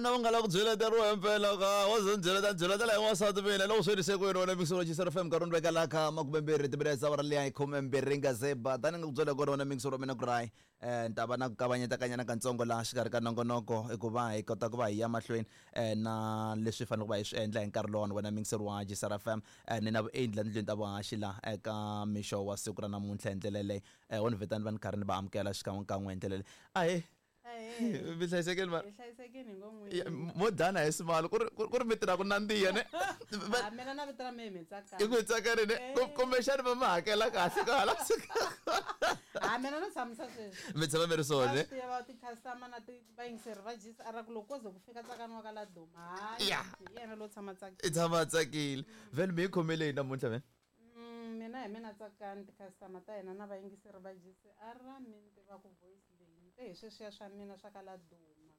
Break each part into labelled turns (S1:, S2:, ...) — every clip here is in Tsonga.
S1: Vona va nga lava ku byeleteriwa himpela ka wo ze ni byeleta ni byeletela hi n'wansati mina loko swi rise kwini wena mixo wa FM nkarhi ni veka la kha makumembirhi timinetse awara liya yi khumembirhi nga ze ba tani nga ku byela kona wena mixo wa mina ku ri ni ta va na ku kavanyeta-kanyana katsongo laha xikarhi ka nongonoko i ku va hi kota ku va hi ya mahlweni na leswi hi faneleke ku va hi swi endla hi nkarhi lowani wena mixo wa Jisara FM ni na vuendli la tindlwini ta vuhaxi la eka mixo wa siku ra namuntlha hi ndlela yeleyo wo ni vitani va ni karhi ni va amukela xikan'wekan'we hi ndlela leyi ahee.
S2: Ahee.
S1: Mi hlayisekile mara
S2: Hi hlayisekile hi ngo
S1: Ya,
S2: n'wini.
S1: mo dana hi smile ku ri ku ri mi tirha ku nandziha ne
S2: Ah, mina na vito ra mehe mi tsakani.
S1: I ku tsakani ne
S2: Eh.
S1: Kumbexani va mi hakela kahle ka hala
S2: Ah, mina no tshamisa sweswi.
S1: Mi tshama mi ri swona
S2: Va
S1: ne
S2: swi tiva ti-customer na ti vayingiseri va GCR ku loko ko ze ku fika Tsakani wa ka Laduma, hayi,
S1: Ya.
S2: hi yena lowo tshama tsakile.
S1: I tshama a tsakile vhele mi yi khomele yini namuntlha vhele?
S2: Mina hi mina Tsakani, ti-customer ta hina na vayingiseri va GCR mi ni tiva ku voice leyi ni te hi sweswiya swa mina swa ka Laduma.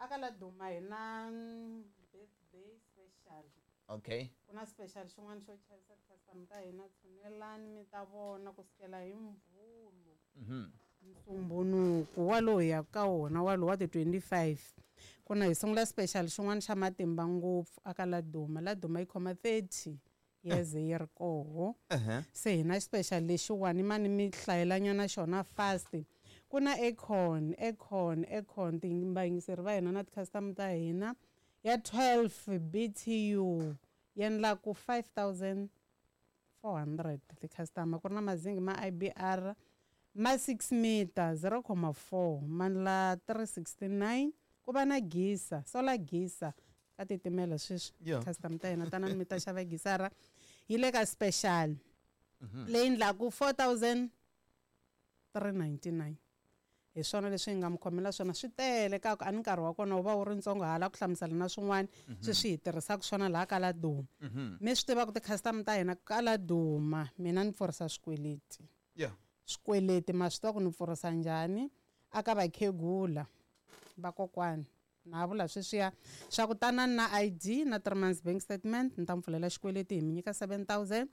S2: A ka Laduma hi na birthday special.
S1: Okay.
S2: Ku na special xin'wana xo chavisa ti-customer ta hina, tshunelani mi ta vona ku sukela hi Mvhulu. Nsumbhunuku walowu hi yaka ka wona walowu wa ti 25 ku na hi sungula special xin'wana xa matimba ngopfu a ka Laduma. Laduma yi khoma 30 years yi ri koho. Se hi na special lexiwani mani mi hlayelanyana xona fast. Ku na aircon, aircon, aircon vayingiseri va hina na ti-customer ta hina ya 12 BTU yi endlaku 5400 ti-customer. Ku ri na mazingi ma IBR ma 6 meter 0.4 ma ndla 369. Ku va na geyser, solar geyser ka titimela sweswi. Customer ta hina tanani mi ta xava gisara yi le ka special leyi endlaku 4399. Hi swona leswi hi nga mi khomela swona, swi tele ka ku a ni nkarhi wa kona wu va wu ri ntsongo hala ku hlamusela na swin'wana sweswi hi tirhisaka swona laha ka Laduma. Mi swi tiva ku ti-customer ta hina ka Laduma mina ni pfurisa swikweleti. Swikweleti ma swi tiva ku ni pfurisa njhani a ka vakhegula vakokwani. Na vula sweswiya swa ku tanani na ID na 3 months bank statement ni ta mi pfulela xikweleti hi mi nyika 7000.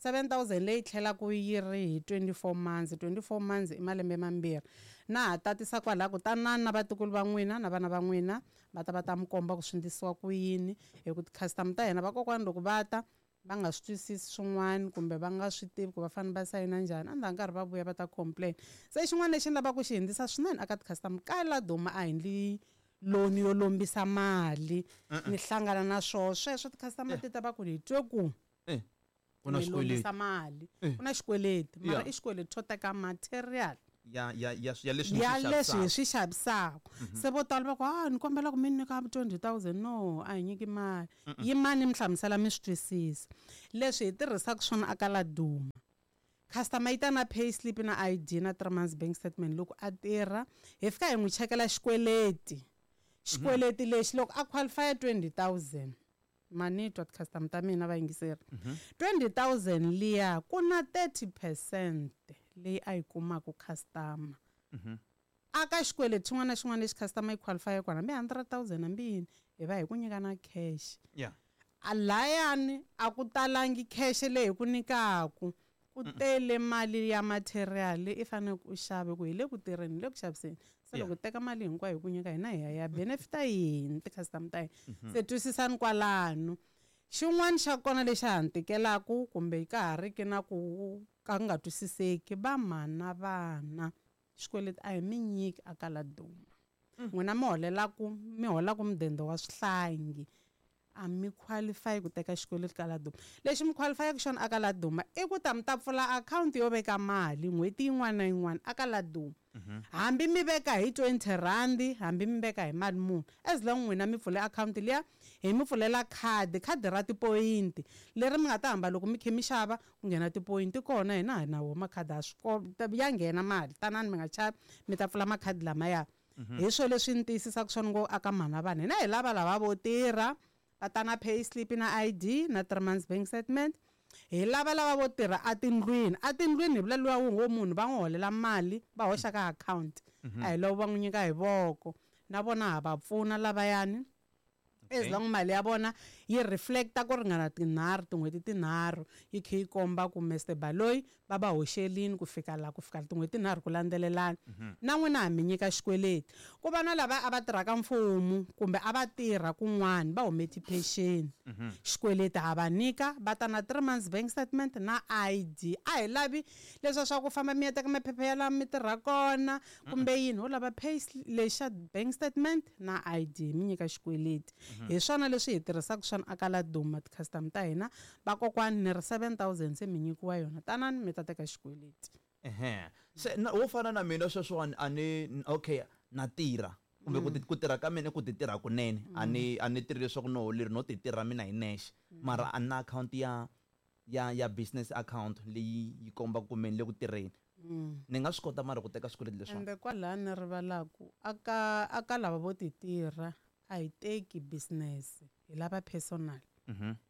S2: 7000 leyi tlhelaku yi ri hi 24 months. 24 months i malembe mambirhi. Na ha tatisa kwalaho ku tanani na vatukulu va n'wina na vana va n'wina va ta va ta mi komba ku swi endlisiwa ku yini. Hi ku ti-customer ta hina vakokwani loko va ta va nga swi twisisi swin'wana kumbe va nga swi tivi ku va fanele va sayina njhani, a ndzhaku nkarhi va vuya va ta complain. Se xin'wana lexi ni lavaka ku xi hundzisa swinene eka ti-customer ka Laduma a hi endli loan yo lombisa mali ni hlangana na swoho sweswo ti-customer ti ta va ku hi twe ku
S1: Ku na
S2: mi
S1: xikweleti.
S2: lombisa mali. Ku na xikweleti mara i xikweleti xo teka material
S1: Ya, ya, ya, ya leswi
S2: ya
S1: ni swi
S2: leswi hi
S1: xavisaka.
S2: swi xavisaka. Se vo tala va ku, ah, ni kombela ku mi nyika 20,000. No, a hi nyiki mali. Yimani mi hlamusela mi swi twisisa. Leswi hi tirhisaka swona aka Laduma. Customer yi ta na pay slip na ID na 3 months bank statement loko a tirha, hi fika hi n'wi chekela xikweleti. Xikweleti lexi loko a qualify 20,000 mani twa ti-customer ta mina vayingiseri. 20,000 liya ku na 30% leyi a yi kumaka customer. Aka xikweleti xin'wana na xin'wana lexi customer yi qualify kona hambi 100,000 hambi yini hi va hi ku nyika na cash. A layani a ku talangi cash leyi hi ku nyikaku, ku tele mali ya material leyi i faneleke u xave ku hi le ku tirheni, hi le ku xaviseni. Se loko teka mali hinkwayo hi ku nyika hina hi ya ya benefita yini ti-customer ta hina. Se twisisani kwalano. Xin'wana xa kona lexi ha ni tikelaku kumbe ka ha ri ki na ku ka nga twisiseki, va mhana vana xikweleti a hi mi nyiki a ka Laduma. N'wina mi holelaku, mi holaku mudende wa swihlangi a mi qualify ku teka xikweleti ka Laduma. Lexi mi qualifyaka xona aka Laduma i ku ta mi ta pfula akhawunti yo veka mali n'hweti yin'wana na yin'wana aka Laduma. Hambi mi veka hi 20 rand, hambi mi veka hi mali muni, as long n'wina mi pfule akhawunti liya, hi mi pfulela khadi, khadi ra tipoyinti leri mi nga ta hamba loko mi kha mi xava ku nghena tipoyinti kona, hina hi na wo makhadi a swi ya nghena mali, tanani mi nga chavi mi ta pfula makhadi lamaya. Hi swo leswi ni tiyisisaka swona ngo aka mhana vanhu hina hi lava lava vo tirha va ta na pay slip na ID na 3 months bank statement. Hi lava lava vo tirha atindlwini. Atindlwini hi vula luwa wu ngo munhu va n'wi holela mali va hoxa ka account. A hi loko va n'wi nyika hi voko. Na vona ha va pfuna lavayani. As long mali ya vona yi reflecta ku ringana tinharhu, tin'hweti tinharhu, yi kha yi komba ku Mr Baloyi va va hoxelini ku fika la, ku fika tin'hweti tinharhu ku landzelelana. Na n'wina ha mi nyika xikweleti. Ku va na lava a va tirhaka mfumo kumbe a va tirha kun'wana va hume tiphexeni. Xikweleti ha va nyika, va ta na 3 months bank statement na ID. A hi lavi leswiya swa ku famba mi ya teka maphepha ya laha mi tirha kona kumbe yini, ho lava pay lexa bank statement na ID, mi nyika xikweleti. Hi swona leswi hi tirhisaka swona aka Laduma ti-customer ta hina. Vakokwani ni ri 7000 se mi nyikiwa yona, tanani mi ta teka xikweleti.
S1: Ehe. Se na wo fana na mina sweswiwani a ni, okay, na tirha kumbe ku tirha ka mina i ku ti tirha kunene, a ni tirhi leswaku no leri no ti tirha mina hi nexe, mara a na account ya business account leyi yi kombaka ku mina le ku tirheni. Ni nga swi kota mara ku teka swikweleti leswiwani.
S2: Ende kwalaha ni rivalaku aka lava vo ti tirha a hi teki business, hi lava personal.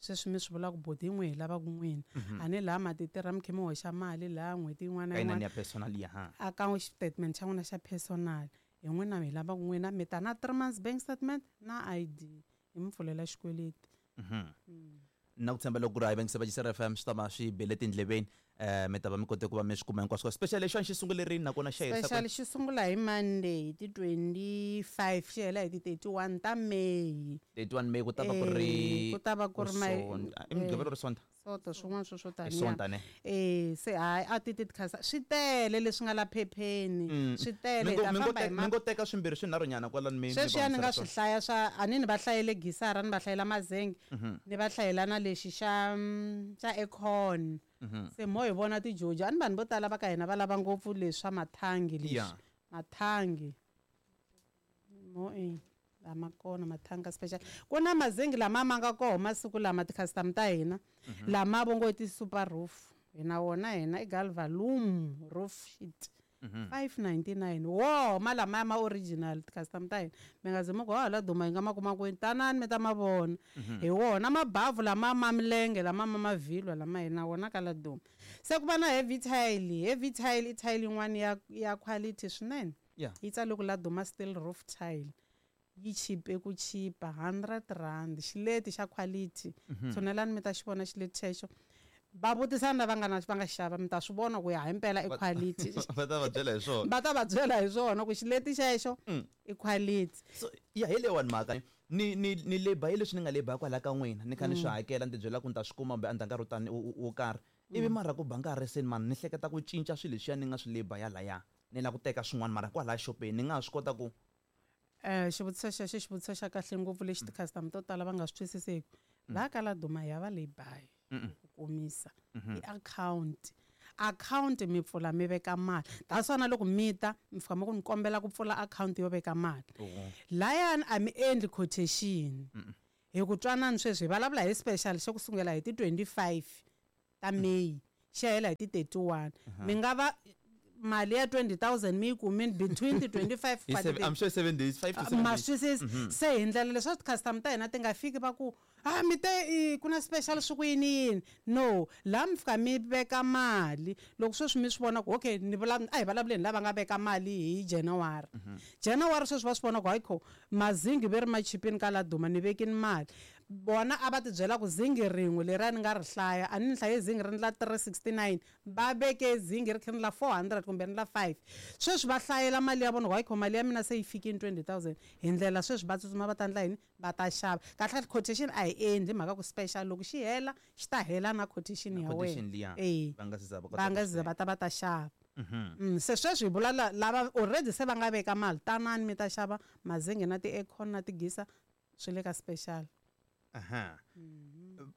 S2: Sweswi mi swi vulaka boti yin'we hi lavaka n'wina. A ni laha ma ti tirha mi kha mi hoxa mali laha n'hweti yin'wana na
S1: Ka inani
S2: yin'wana.
S1: ya personal ya, ha.
S2: A ka statement xa n'wina xa personal. Hi n'wina hi lavaka n'wina, mi ta na 3 months bank statement na ID, hi mi pfulela xikweleti.
S1: Na ku tshemba loko ku ri hayi va nge se va FM swi ta va swi bele tindleveni, mi ta va mi kote ku va mi swi kuma hinkwaswo. Special lexi xi sungule rini nakona xa herisa
S2: Special
S1: kwini?
S2: xi sungula hi Monday hi ti 25 xi hela hi ti 31 ta May.
S1: 31 May ku ta va ku ri
S2: Ku ta va ku ri
S1: Sonta. I Mugqivela or Sonta?
S2: Sonta, swin'wana swo swo
S1: I
S2: taniya.
S1: Sonta ne?
S2: Se hayi a ti ti khasa swi tele leswi nga la phepheni. Swi tele,
S1: Mi
S2: hi ta famba hi
S1: ngo teka swimbirhi swinharhu nyana kwalano mi
S2: Sweswiya
S1: va
S2: ni nga
S1: hundzisela
S2: swi
S1: swona.
S2: hlaya swa, a ni ni va hlayele gisara, ni va hlayela mazenge, ni va hlayela na lexi xa aircon. Se mo hi vona tijojo, a ni vanhu vo tala va ka hina va lava ngopfu leswi swa mathangi leswi. Mathangi. Mo e lama kona mathanga special. Ku na mazengi lama ma nga koho masiku lama ti-customer ta hina, lama vo ngo i ti-super roof. Hina wona hina i Galvalume roof sheet. 599. Wo, ma lama ma original ti-customer ta hina. Mi nga zi mi ku, ha, la duma yi nga ma kuma kwini? Tanani mi ta ma vona. Hi wona mabavhu lama ma milenge, lama ma mavhilwa lama hina wona ka la duma. Se ku va na heavy tile. Heavy tile i tile yin'wana ya quality swinene. Yi tsale ku la duma steel roof tile. Yi chipe ku chipa 100 rand, xileti xa quality. Tshunelani mi ta xi vona xileti xexo. Va vutisana lava nga na, va nga xava, mi ta swi vona ku ya hi mpela i quality.
S1: Va ta va byela hi swona.
S2: Va ta va byela hi swona ku xileti xexo i quality.
S1: So, ya hi leyiwani mhaka. Ni leba hi leswi ni nga leba kwala ka n'wina, ni kha ni swi hakela, ni ti byela ku ni ta swi kuma kumbe endzhaku ka nkarhi wo tani, wo karhi. Ivi mara ku ba nkarhi se mani ni hleketa ku cinca swilo leswiya ni nga swi leba yalaya. Ni lava ku teka swin'wana mara kwalaya xopeni ni nga ha swi kota ku
S2: Xivutiso xexo i xivutiso xa kahle ngopfu lexi ti-customer to tala va nga swi twisiseki. Laha ka Laduma hi ya va lay-by ku komisa. I account. Account mi pfula mi veka mali. That's why na loko mi ta, mi fika mi ku ni kombela ku pfula account yo veka mali. Layani a mi endli quotation. Hi ku twanani sweswi hi vulavula hi special xa ku sungula hi ti 25 ta May, xi hela hi ti 31. Mi nga va mali ya 20,000 mi yi kumile between ti 25
S1: Hi
S2: pa
S1: seven,
S2: ti
S1: I'm sure 7 days, 5 to 7
S2: Ma
S1: days.
S2: swi twisisa. Se hi ndlela leswaku ti-customer ta hina ti nga fiki va ku, ah, mi te, ku na special swi ku yini yini. No, laha mi fika mi veka mali. Loko sweswi mi swi vona ku, okay, ni vula, a hi vulavuleni lava nga veka mali hi January. January sweswi va swi vona ku, hayi kho, mazingi ve ri ma chipini ka Laduma, ni vekini mali. Vona a va ti byela ku zingi rin'we leriya ni nga ri hlaya, a ni hlaye zingi ri ndla 369, va veke zingi ri kha ri ndla 400 kumbe ri ndla 5. Sweswi va hlayela mali ya vona ku, hayi kho, mali ya mina se yi fikile 20,000. Hi ndlela sweswi va tsutsuma va ta endla yini? Va ta xava. Kahle kahle quotation a hi endli mhaka ku special loko xi hela, xi ta hela na quotation
S1: Na
S2: ya wena.
S1: quotation liya. Va nga se za va kota
S2: Va nga
S1: ku
S2: se za
S1: swi
S2: va ta va ta xava. Se sweswi hi vula lava already se va nga veka mali, tanani mi ta xava mazingi na ti-aircon na tigisa swi le ka special.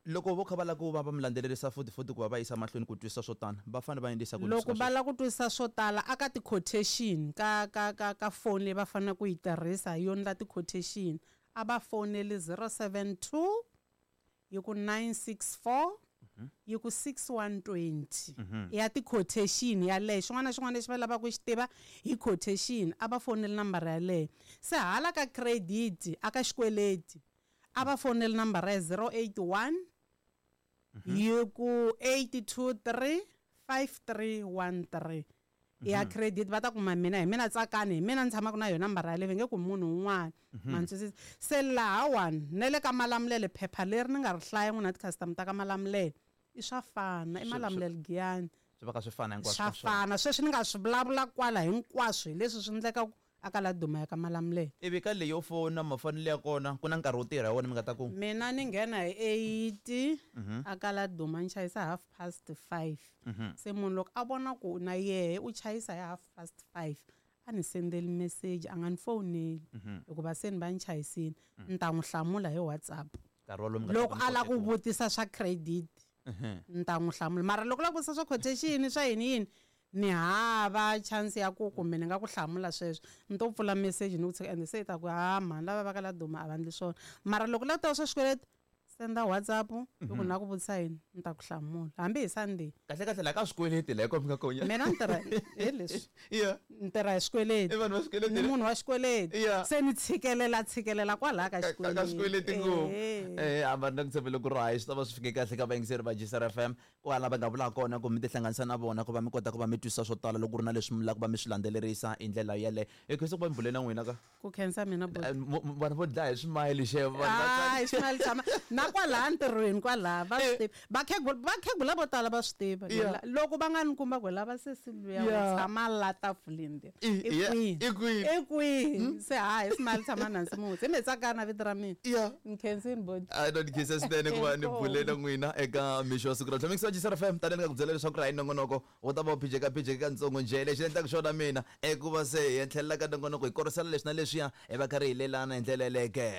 S1: Loko vo kha va lava ku va va mi landzelerisa futhi futhi ku va va yisa mahlweni ku twisisa swo tala, va fanele va endlisa ku yini
S2: Loko
S1: swi
S2: va lava ku twisisa swo tala aka ti-quotation ka phone leyi va faneleke ku yi tirhisa yo endla ti-quotation, a va foneli 072 yi ku 964 yi ku 6120. Ya ti-quotation yaleyo, xin'wana na xin'wana lexi va lavaka ku xi tiva hi quotation, a va foneli nambara yaleyo. Se hala ka credit, aka xikweleti, a va foneli nambara ya 081 yi ku 823 5313. I ya credit va ta kuma mina, hi mina Tsakani, hi mina ni tshamaka na yona nambara yaleyo, va nge kumi munhu un'wana. Ma ni twisisa? Se lahawani na le ka Malamulele, phepha leri ni nga ri hlaya n'wina ti-customer ta ka Malamulele, i swa fana, i Malamulele Giyani.
S1: Swi va ka swi fana hinkwaswo
S2: Swa
S1: ka swona.
S2: fana. Sweswi ni nga swi vulavula kwala hinkwaswo hi leswi swi endlekaka a ka Laduma ya ka Malamulele.
S1: Ivi ka leyo fona mafonelo ya kona, ku na nkarhi wo tirha hi wona mi nga ta ku?
S2: Mina ni nghena hi 8 a ka Laduma, ni chayisa 5:30. Se munhu loko a vona ku na yehe u chayisa hi 5:30, a ni sendeli message, a nga ni foneli, hikuva se ni va ni chayisile, ni ta n'wi hlamula hi WhatsApp.
S1: Nkarhi wolowo mi nga ta
S2: Loko
S1: ku mi
S2: a lava ku
S1: kote ku
S2: vutisa swa credit, ni ta n'wi hlamula. Mara loko la ku vutisa swa quotation, swa yini yini, ni hava chance ya ku kumbe ni nga ku hlamula sweswo, ni to pfula message ni ku tshika, ende se i ta ku ha mhani lava va ka Laduma a va endli swona. Mara loko la ku tava swa xikweleti, senda WhatsApp, loko ni lava ku vutisa yini, ni ta ku hlamula hambi hi Sunday.
S1: Kahle kahle la ka swikweleti la hi ko mi nga konya.
S2: Mina ni tirha hi leswi. Ni tirha hi swikweleti.
S1: I vanhu va swikweleti.
S2: Ni munhu wa xikweleti. Se ni tshikelela, tshikelela kwalaya ka
S1: Ka ka xikweleti ngopfu. A va na ku tshembele ku ri hayi swi ta va swi fike kahle ka vayingiseri va Jisara FM, kwala va nga vula kona ku mi tihlanganisa na vona ku va mi kota ku va mi twisisa swo tala loko ku ri na leswi mi lava ku va mi swi landzelerisa hi ndlela yeleyo. Hi khensa ku va mi bule na n'wina ka.
S2: Ku khensa mina, buti.
S1: Vanhu vo dlaya hi swimayili xevo, vanhu va
S2: Hayi,
S1: tsaka.
S2: swimayili tshama na kwalaha ntirhweni kwalaha va swi tiva. Vakhegula vo tala va swi tiva. Loko va nga ni kumba ku lava sesi luya wa tshama la tafuleni leri. I kwihi?
S1: I kwihi?
S2: I kwihi? Se hayi, swimayili tshama na Nsimusi. Hi me Tsakana vito ra mina. Ni khensini, buti.
S1: A no ni khensa swinene ku va ni
S2: Inkomu.
S1: bule na n'wina eka mixo wa siku ra namuntlha. Mixo wa Jisara FM, tanihi ni nga ku byela leswaku ri hayi nongonoko wu ta va wu phijeka phijeka katsongo njhe. Lexi ni endlaka xona mina i ku va se hi tlhelela ka nongonoko hi korisela leswi na leswiya, hi va karhi hi lelana hi ndlela yeleyo ke.